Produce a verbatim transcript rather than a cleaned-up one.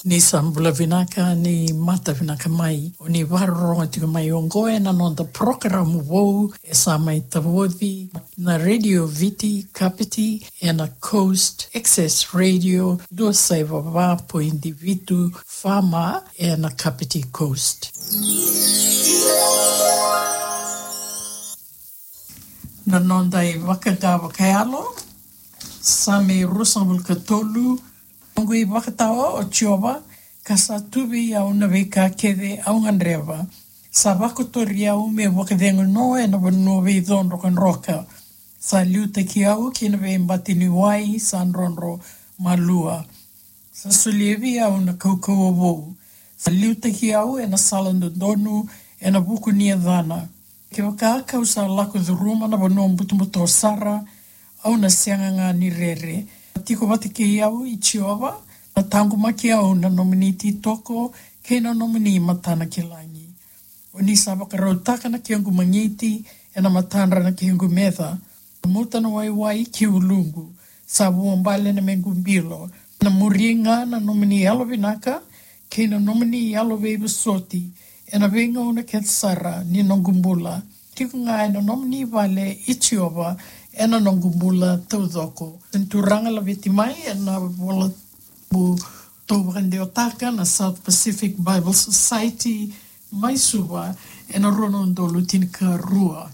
Ni sa bula vinaka, ni mata vinaka mai. O ni vakarorogo tiko mai oqo ena noda porokaramu vou e sa mai tavoci na Radio Viti Kapiti ena Coast Access Radio dua saiva va poidi vitu F M ena Kapiti Coast. Na noda ivakaqa vakayalo, Same ruasagavulu ka tolu. Noqu ivakatawa, o Jiova, ka sa tu vei au na veika kece au gadreva. Sa vakotori au meu vakacegu no ena vanua veico drokadroka. Sa liutaki au ki na veibati ni wai sa drodro malua. Sa solia vei au na kaukauwa vou. Sa liutaki au ena sala dodonu ena vuku ni yacana. Kevaka kau sa lako curuma na vanua butobuto sara, au na sega ga ni rere. Tiko vata kei au i Jiova, na taqomaki au na nomuni ititoko kei na nomuni matanakilagi. O ni sa vakarautaka na kequ magiti ena matadra na kequ meca. Muta na waiwai ki uluqu, sa vuabale na mequ bilo. Na muri ga na nomuni yalovinaka kei na nomuni yalo veivosoti ena veigauna kece sara ni noqu bula. Tiko ga ena nomuni vale i Jiova ena noqu bula taucoko. Turaga laveti mai ena vola bu tou vakadewataka na South Pacific Bible Society mai Suva ena rua na udolu tinikarua.